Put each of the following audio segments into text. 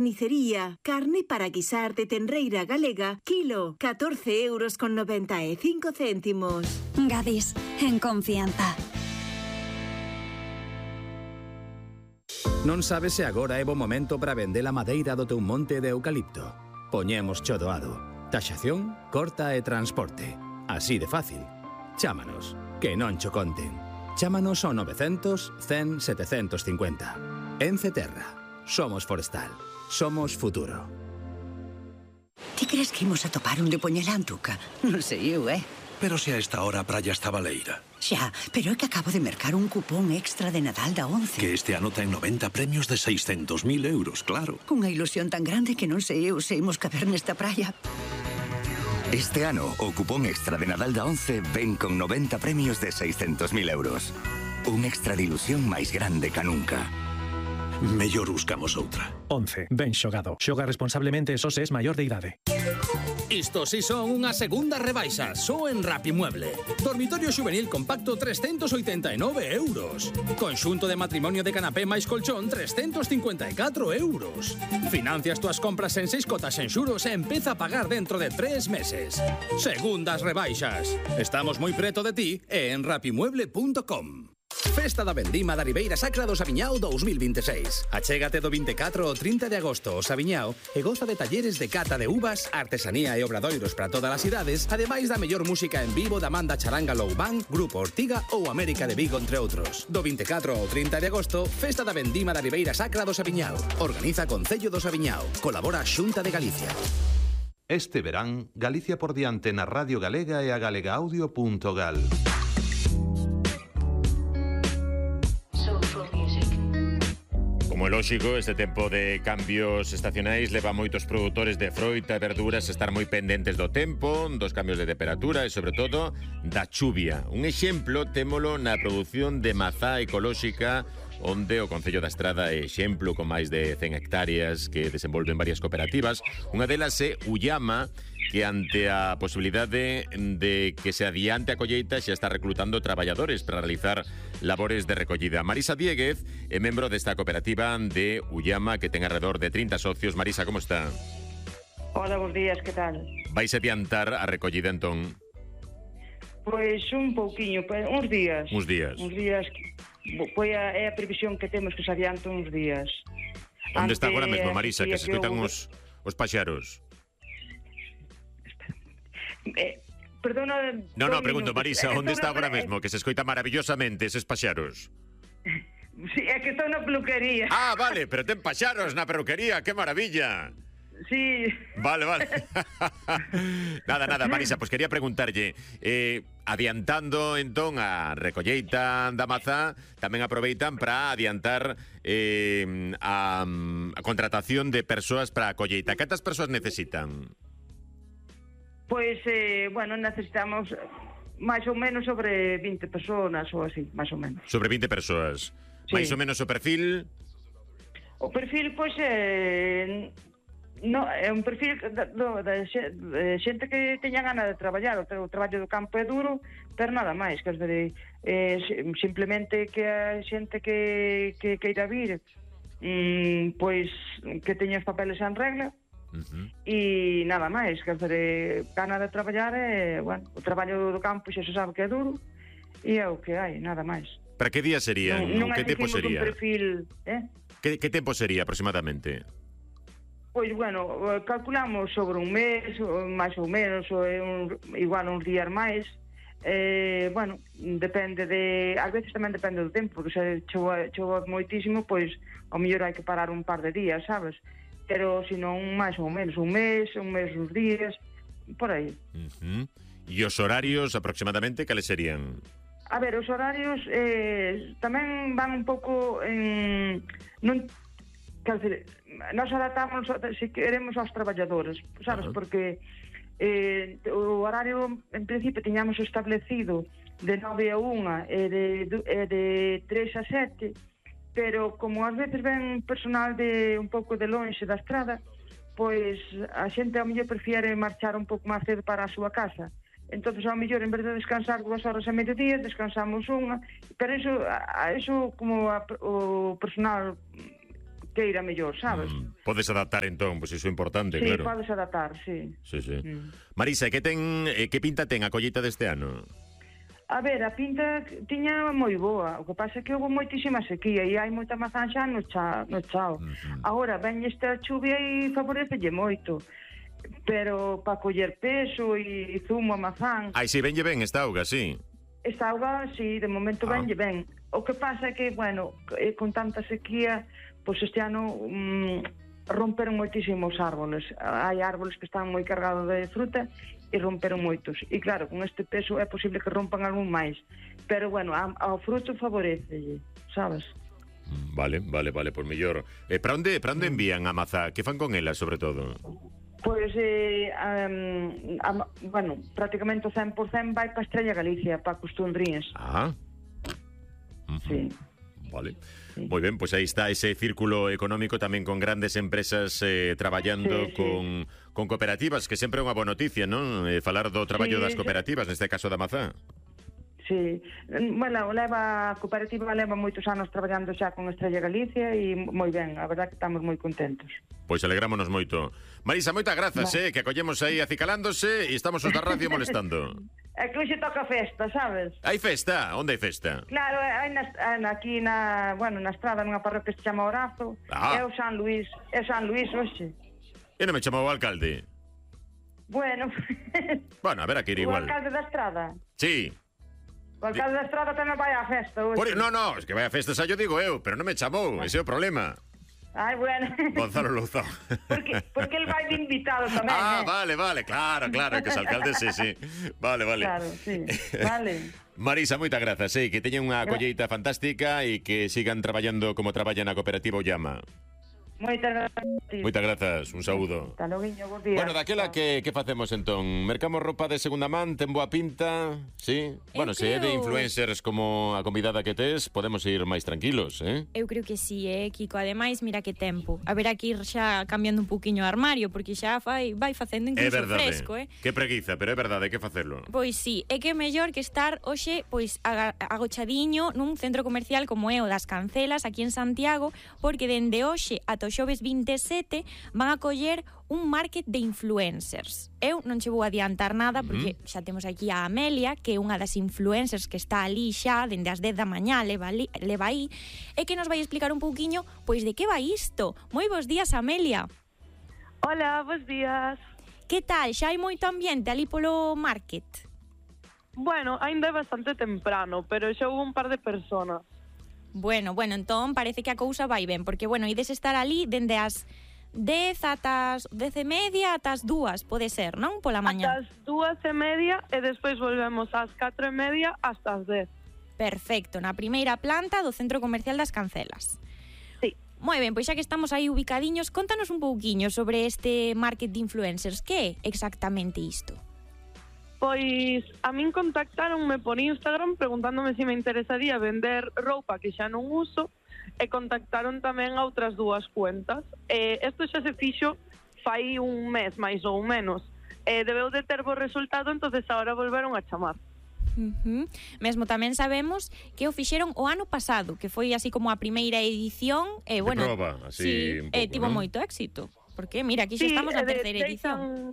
Carnicería. Carne para guisar de tenreira galega. Kilo, 14,95 €. Gadis, en confianza. Non sabes se agora é bo momento para vender a madeira do teu monte de eucalipto. Poñemos cho doado. Taxación, corta e transporte. Así de fácil. Chámanos, que non cho conten. Chámanos ao 900 100 750. Ence Terra. Somos forestal. Somos futuro. Ti crees que imos a topar un de Poñelantuca? Non sei eu, Pero se a esta hora a praia está baleira. Xa, pero é que acabo de mercar un cupón extra de Nadal da 11. Que este ano ten 90 premios de 600.000 euros, claro. Cunha ilusión tan grande que non sei eu se imos caber nesta praia. Este ano, o cupón extra de Nadal da 11 ven con 90 premios de 600.000 euros. Un extra de ilusión máis grande ca nunca. Mellor buscamos outra. 11. Ben xogado. Xoga responsablemente e só se es maior de idade. Isto si son unha segunda rebaixa, só en Rapimueble. Dormitorio xuvenil compacto 389 €. Conxunto de matrimonio de canapé máis colchón 354 €. Financias túas compras en 6 cotas en xuros e empeza a pagar dentro de 3 meses. Segundas rebaixas. Estamos moi preto de ti e en rapimueble.com. Festa da Vendima da Ribeira Sacra do Saviñao 2026. Achégate do 24 ao 30 de agosto ao Saviñao e goza de talleres de cata de uvas, artesanía e obradoiros para todas as idades, ademais da mellor música en vivo da Manda Charanga Low Band, Grupo Ortiga ou América de Vigo, entre outros. Do 24 ao 30 de agosto, Festa da Vendima da Ribeira Sacra do Saviñao. Organiza Concello do Saviñao. Colabora Xunta de Galicia. Este verán, Galicia por diante na Radio Galega e a galegaaudio.gal. Como é lóxico, este tempo de cambios estacionais leva a moitos produtores de froita e verduras a estar moi pendentes do tempo, dos cambios de temperatura e, sobre todo, da chuvia. Un exemplo témolo na produción de mazá ecolóxica, onde o Concello da Estrada é exemplo con máis de 100 hectáreas que desenvolven varias cooperativas. Unha delas é Ullama, que ante a posibilidade de que se adiante a colleita xa está reclutando traballadores para realizar labores de recollida. Marisa Dieguez é membro desta cooperativa de Ullama, que ten alrededor de 30 socios. Marisa, como está? Hola, bons días, que tal? Vais adiantar a recollida, entón? Pois un pouquiño, uns días. Uns días. Uns días, pois é a previsión que temos que se adianta uns días. Onde está agora mesmo, Marisa, que se escoitan os paxaros? Perdona... No, pregunto, Marisa, onde está agora mesmo, que se escoita maravillosamente eses paxaros? Sí, é que estou na peluquería. Ah, vale, pero ten paxaros na peluquería, que maravilla. Sí. Vale. Nada, Marisa, pois quería preguntarlle, adiantando entón a recolleita da mazá, tamén aproveitan para adiantar a contratación de persoas para a colleita. Cantas persoas necesitan? Pois, necesitamos máis ou menos sobre 20 personas ou así, máis ou menos. Sobre 20 persoas. Sí. Máis ou menos o perfil? O perfil, pois, é un perfil de xente que teña gana de traballar. O traballo do campo é duro, pero nada máis, que simplemente que a xente que queira vir, pois, que teña os papeles en regla, e nada máis, que gana de traballar é, o traballo do campo xa se sabe que é duro e é o que hai, nada máis. Para que día sería? Que tempo sería? Perfil, que tempo sería aproximadamente? Pois, calculamos sobre un mes, máis ou menos, igual uns días máis. Depende ás veces tamén depende do tempo, porque se chova moitísimo, pois ao mellor hai que parar un par de días, sabes? Pero senón máis ou menos un mes, uns días, por aí. E os horarios aproximadamente cales serían? A ver, os horarios tamén van un pouco en... Nós adaptamos, se queremos, aos traballadores, sabes? Porque o horario, en principio, tiñamos establecido de 9 a 1 e de 3 a 7, pero como ás veces ven personal de un pouco de lonxe da estrada, pois a xente ao mellor prefiere marchar un pouco máis cedo para a súa casa. Entonces, ao mellor, en vez de descansar 2 horas a mediodía, descansamos unha, pero eso como o personal queira mellor, sabes? Podes adaptar entón, pois iso é importante, Sí, claro. podes adaptar, sí. Sí. Marisa, que pinta ten a colleita deste ano? A ver, a pinta tiña moi boa. O que pasa é que houve moitísima sequía e hai moita mazán xa no chao. Agora, ven esta chuvia e favorecelle moito. Pero para coller peso e zumo a mazán... Ai, si, venlle ben esta auga, sí. Esta auga, sí, de momento venlle ben. O que pasa é que, bueno, con tanta sequía, pois este ano romperon moitísimos árboles. Hai árboles que están moi cargados de fruta e romperon moitos. E claro, con este peso é posible que rompan algún máis. Pero, bueno, ao fruto favorecelle, sabes? Vale, por mellor. Para onde envían a mazá? Que fan con ela, sobre todo? Pois, bueno, prácticamente o 100% vai para Estrella Galicia, para Costundrías. Sí. Vale. Sí. Moi ben, pois aí está ese círculo económico tamén con grandes empresas traballando con cooperativas, que sempre é unha boa noticia, non? Falar do traballo das cooperativas, neste caso da mazá. Sí, bueno, a cooperativa leva moitos anos traballando xa con Estrella Galicia e moi ben, a verdad que estamos moi contentos. Pois alegrámonos moito. Marisa, moitas grazas, que acollemos aí acicalándose e estamos os da radio molestando. É que hoxe toca festa, sabes? Hai festa? Onde hai festa? Claro, aquí na estrada, nunha parroquia que se chama Orazo, é o San Luís hoxe. E non me chamou o alcalde? Bueno, a ver, aquí ir igual. O alcalde da estrada? Sí. O alcalde da estrada tamén vai á festa hoxe. No, es que vai á festa, xa yo digo eu, pero non me chamou, ese é o problema. Ai, bueno. Gonzalo Louzao. Porque el vai de invitado tamén, vale, claro, que os alcaldes, sí. Vale. Claro, sí, vale. Marisa, moitas grazas, que teñen unha colleita fantástica e que sigan traballando como traballan na cooperativa Ollama. Moitas grazas, un saúdo. Hasta logo, bons días. Bueno, daquela que facemos entón? Mercamos roupa de segunda man, ten boa pinta, sí? Bueno, se é de influencers como a convidada que tes, podemos ir máis tranquilos, Eu creo que sí, Kiko. Ademais, mira que tempo. Haberá que ir xa cambiando un pouquiño o armario, porque xa vai facendo incluso fresco, Que preguiza, pero é verdade, hai que facelo. Pois sí, é que é mellor que estar hoxe pois agochadiño nun centro comercial como é o das Cancelas, aquí en Santiago, porque dende hoxe ata o xoves 27 van a coller un market de influencers. Eu non che vou adiantar nada porque xa temos aquí a Amelia, que é unha das influencers que está ali xa dende as 10 da mañá, leva aí, e que nos vai explicar un pouquiño pois de que vai isto. Moi bons días, Amelia. Hola, bons días. Que tal? Xa hai moito ambiente ali polo market? Bueno, ainda é bastante temprano, pero xa houve un par de personas. Bueno, entón parece que a cousa vai ben, porque, ides estar ali dende as 10 ata as 10:30 ata as 2, pode ser, non? Pola mañá. Ata as 2:30 e despois volvemos ás 4:30 hasta as 10. Perfecto, na primeira planta do Centro Comercial das Cancelas. Sí. Moi ben, pois xa que estamos aí ubicadiños, contanos un pouquiño sobre este market de influencers. Que é exactamente isto? Pois a min contactaronme por Instagram preguntándome se me interesaría vender roupa que xa non uso e contactaron tamén a outras dúas cuentas. Isto xa se fixo fai un mes, máis ou menos. Debeu de ter bo resultado, entonces agora volveron a chamar. Mesmo tamén sabemos que o fixeron o ano pasado, que foi así como a primeira edición. De proba, así un pouco, tivo moito éxito. Porque, mira, aquí xa estamos na terceira edición.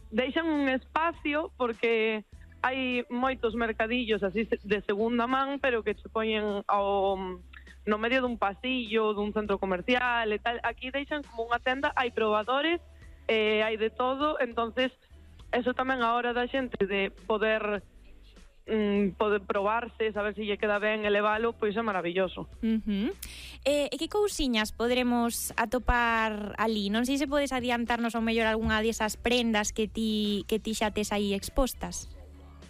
Deixan un espacio porque hai moitos mercadillos así de segunda man, pero que se poñen no medio dun pasillo, dun centro comercial e tal. Aquí deixan como unha tenda, hai probadores, hai de todo, entonces eso tamén a hora da xente de poder probarse, saber se lle queda ben e levalo, pois é maravilloso. E que cousiñas podremos atopar ali? Non sei se podes adiantarnos ao mellor algunha desas prendas que ti xa tes aí expostas.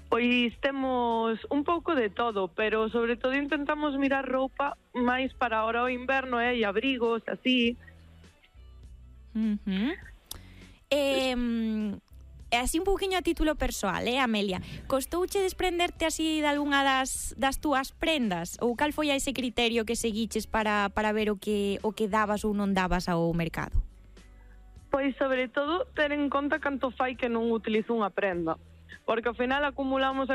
Pois temos un pouco de todo, pero sobre todo intentamos mirar roupa máis para ahora o inverno, e abrigos, así. Así un pouquiño a título persoal, Amelia? Costouche desprenderte así de algunha das túas prendas? Ou cal foi a ese criterio que seguiches para ver o que dabas ou non dabas ao mercado? Pois, sobre todo, ter en conta canto fai que non utilizo unha prenda. Porque ao final acumulamos,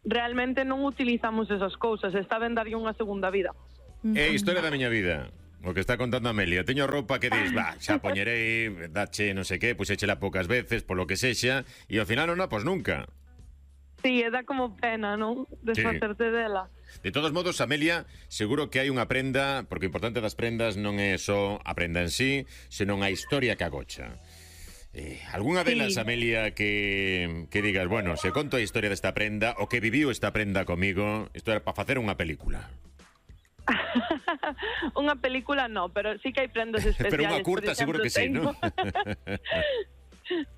realmente non utilizamos esas cousas, está ben darlle unha segunda vida. É a historia da miña vida. O que está contando Amelia. Teño roupa que dis, xa poñerei, dache non sei que, puxéchela poucas veces, polo que sexa, e ao final non a pos nunca. Sí, dá como pena, non? Desfacerte dela. De todos modos, Amelia, seguro que hai unha prenda, porque o importante das prendas non é só a prenda en sí, senón a historia que agocha. Algúnha delas, Amelia, que digas, bueno, se conto a historia desta prenda, o que viviu esta prenda comigo, isto era para facer unha película. Unha película no, pero sí que hai prendas especiales. Pero unha curta seguro que sí, non?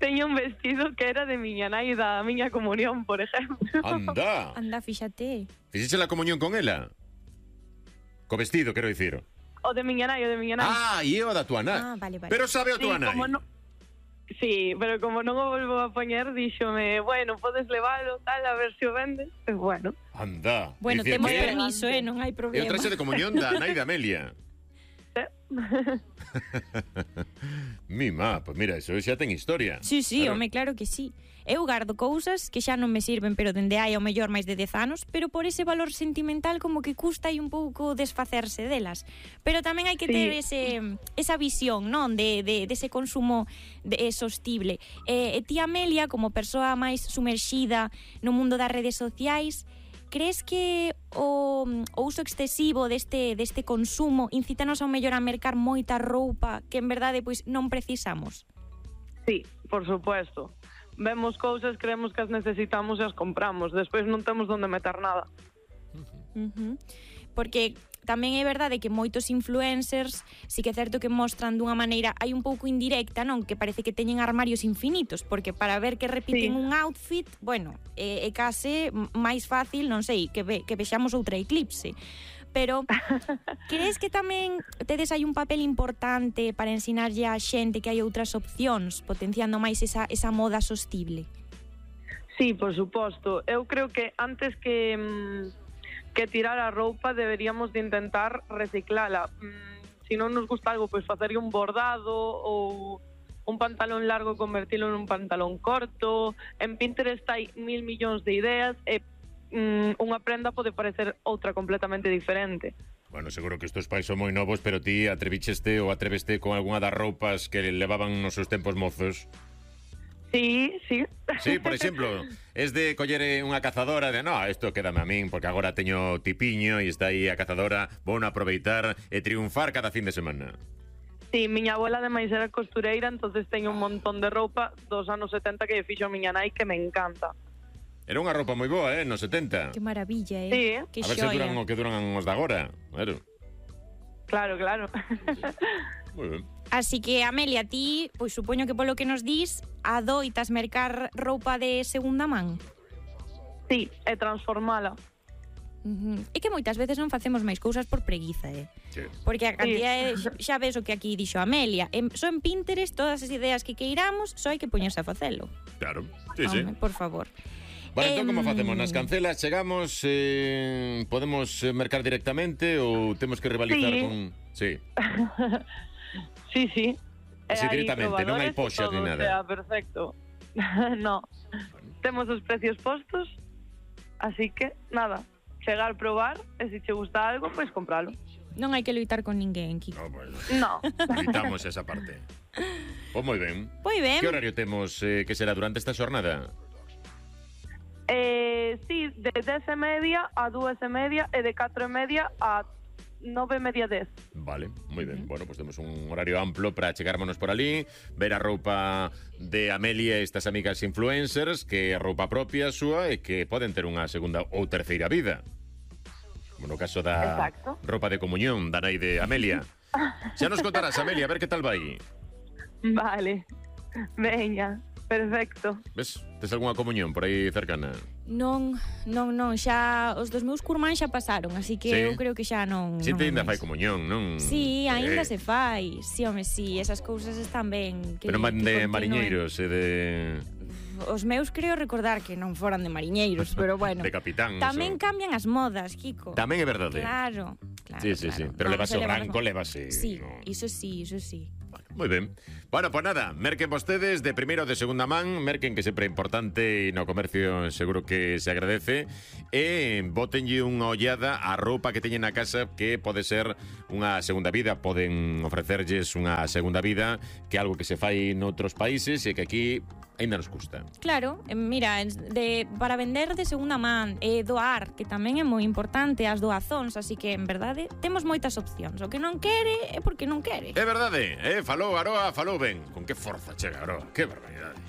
Teño un vestido que era de miña nai da miña comunión, por exemplo. Anda, fíxate. Fixeche la comunión con ela? Co vestido, quero dicir. O de miña nai. Ah, e o da tua nai. Vale. Pero sabe o tua nai. Sí, pero como non o volvo a poñer, díxome, bueno, podes levalo, tal, a ver se o vendes. Pues bueno. Anda. Bueno, temos permiso, non hai problema. E o traxe de comunión da nai de Amelia. Mima, pues mira, eso xa ten historia. Sí, home, claro que sí. Eu gardo cousas que xa non me sirven, pero dende hai ao mellor máis de 10 anos, pero por ese valor sentimental como que custa aí un pouco desfacerse delas. Pero tamén hai que ter esa visión, non, de ese consumo sostible. E ti, Amelia, como persoa máis sumerxida no mundo das redes sociais, crees que o uso excesivo deste consumo incítanos ao mellor a mercar moita roupa que en verdade pois non precisamos? Sí, por supuesto. Vemos cousas, creemos que as necesitamos e as compramos. Despois non temos onde meter nada. Porque tamén é verdade que moitos influencers sí que é certo que mostran dunha maneira hai un pouco indirecta, non? Que parece que teñen armarios infinitos, porque para ver que repiten un outfit, bueno, é case máis fácil, non sei, que vexamos outra eclipse. Pero crees que tamén tedes aí un papel importante para ensinarlle á xente que hai outras opcións, potenciando máis esa moda sostible? Sí, por suposto. Eu creo que antes que tirar a roupa deberíamos de intentar reciclala. Se non nos gusta algo, pois facerlle un bordado ou un pantalón largo convertilo en un pantalón corto. En Pinterest hai 1000 millóns de ideas e unha prenda pode parecer outra completamente diferente. Bueno, seguro que estos pais son moi novos, pero ti atrevicheste ou atreveste con algunha das roupas que levaban nos seus tempos mozos? Sí. Sí, por exemplo, es de coller unha cazadora de, no, isto quédame a min, porque agora teño tipiño e está aí a cazadora, vou aproveitar e triunfar cada fin de semana. Sí, miña abuela ademais era costureira, entonces teño un montón de roupa dos anos 70 que fixo a miña nai que me encanta. Era unha roupa moi boa, nos 70. Que maravilla, Sí. Que a ver se duran o que duran os de agora. Claro. Moi ben. Así que, Amelia, ti, pois supoño que polo que nos dis, adoitas mercar roupa de segunda man? Sí, e transformala. É que moitas veces non facemos máis cousas por preguiza, Sí. Porque a cantidad xa ves o que aquí dixo Amelia. Só en Pinterest todas as ideas que queiramos, só hai que poñerse a facelo. Claro, sí. Por favor. Vale, entón como facemos? Nas cancelas chegamos, podemos mercar directamente ou temos que rivalizar con... Sí. Sí. Así directamente, non hai poxas ni nada. Perfecto. No. Temos os precios postos, así que, nada, chegar, probar, e se che gusta algo, pois compralo. Non hai que loitar con ninguén, Kiko. No. Evitamos esa parte. Pois moi ben. Que horario temos que será durante esta xornada? Sí, de 10:30 a 2:30 e de 4:30 a 9:30, 10. Vale, moi ben. Bueno, pues temos un horario amplo para chegármonos por ali, ver a roupa de Amelia e estas amigas influencers, que é roupa propia súa e que poden ter unha segunda ou terceira vida. Como no caso da roupa de comunión da nai de Amelia. Xa nos contarás, Amelia, a ver que tal vai. Vale, veña. Perfecto. Ves? Tes algunha comunión por aí cercana? Non, xa os dos meus curmáns xa pasaron, así que eu creo que xa non... Si te ainda fai comunión, non? Sí, ainda se fai. Sí, home, sí, esas cousas están ben. Pero de mariñeiros e de... Os meus creo recordar que non foran de mariñeiros, pero bueno. De capitán. Tamén cambian as modas, Kiko. Tamén é verdade. Claro. Sí. Pero levase o branco, levase... Sí, iso sí. Moi ben. Bueno, pues nada, merquen vostedes de primeira ou de segunda man, merquen que sempre é importante e no comercio seguro que se agradece, e botenlle unha ollada á roupa que teñen na casa que pode ser unha segunda vida, poden ofrecerlles unha segunda vida, que é algo que se fai noutros países e que aquí ainda nos custa. Claro, mira, para vender de segunda man e doar, que tamén é moi importante as doazóns, así que, en verdade, temos moitas opcións. O que non quere é porque non quere. É verdade, falou Aroa, falou ben. Con que forza chega Aroa, que barbaridade.